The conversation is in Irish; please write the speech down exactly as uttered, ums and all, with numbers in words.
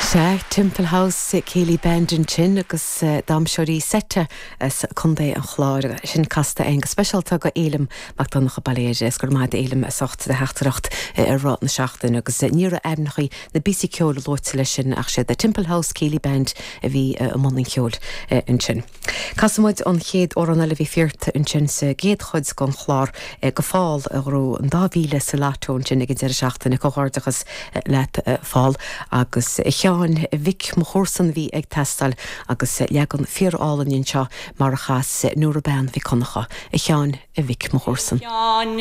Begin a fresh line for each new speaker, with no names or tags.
Sea Temple House Céilí Band ansin agus eh, damhsóirí seite as Contae an Chláir sin casta againn go speisialta go Éilim Mac Donncha Bailéir is gur maid éilim a socht de theachtaireacht eh, ar rá na seachtain agus eh, ní raibh ainmneacha na bpíosaí ceoil luaite leis sin ach sé the Temple House Céilí Band a bhí i mbun an cheoil ansin. Casfaimid an chéad amhrán eile bhí fiart ansin sa gcéad chuid den chlár go Phól a ghnóthaigh an dá mhíle sa lotto ansin ag an deireadh seachtaine comhghairdeachas leat Phól agus a Sheáin Mhic mo chomharsan bhí ag teastáil agus leagan fíorálainn anseo mar a chas Nóra Bean Mhic Donncha a Sheáin a Mhic mo chomharsan.